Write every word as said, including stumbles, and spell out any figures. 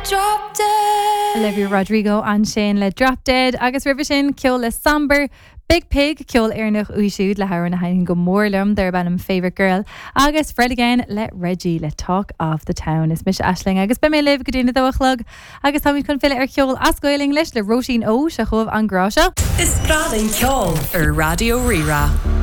Drop dead. Olivia Rodrigo ansin le Drop Dead agus roimhe sin ceol le Samber, Biig Piig ceol Éireannach uaidh siúd le hamhrán a thaitníonn go mór liom darb ainm Favorite Girl agus Fred again le Reggie le Talk of the Town is mise Aisling agus beidh mé libh go dtí a dó a chlog agus táimid chun filleadh ar cheol as Gaeilge leis le Róisín Ó seo chugaibh an grá seo. Is breá linn ceol ar Raidió Rí-Rá.